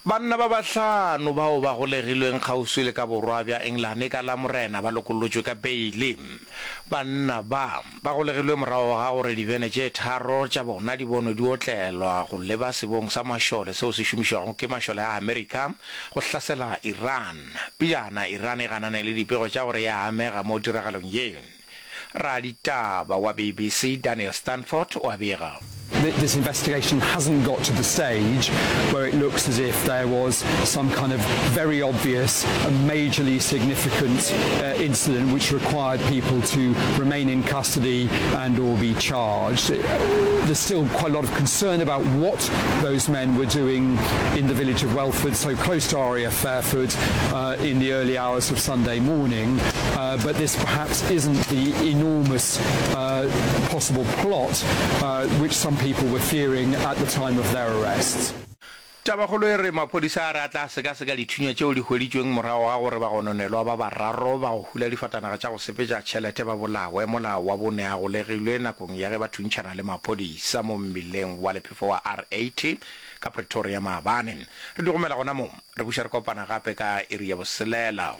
Banna ba bahlano bao ba golegilweng kgauswi le ka borwa bja Engelane ka Lamorena ba lokollotšwe ka beile. Banna ba, ba golegilwe morago ga gore dibene tše tharo tša bona di bonwe di otlelwa go leba sebong sa mašole seo se šomišwago ke mašole a Amerika go hlasela Iran. Pejana, Iran e ganane le dipego tša gore e a amega mo tiragalong ye. Raditaba wa BBC Daniel Stanford o a bega. This investigation hasn't got to the stage where it looks as if there was some kind of very obvious and majorly significant incident which required people to remain in custody and or be charged. There's still quite a lot of concern about what those men were doing in the village of Welford, so close to RAF Fairford, in the early hours of Sunday morning. But this perhaps isn't the enormous possible plot which some people were fearing at the time of their arrests. Tabakgolo e re maphodisa a re a tla sekaseka dithunya tšeo di hweditšweng morago ga gore bagononelwa ba bararo ba go hula difatanaga tša go sepetša tšhelete ba bolawe mola wa bone a golegilwe nakong ya ge ba thuntšhana le maphodisa mo mmileng wa lephefo wa R80 ka Pretoria maabane. Re di gomela gona mo, re buša re kopana gape ka iri ya boselela.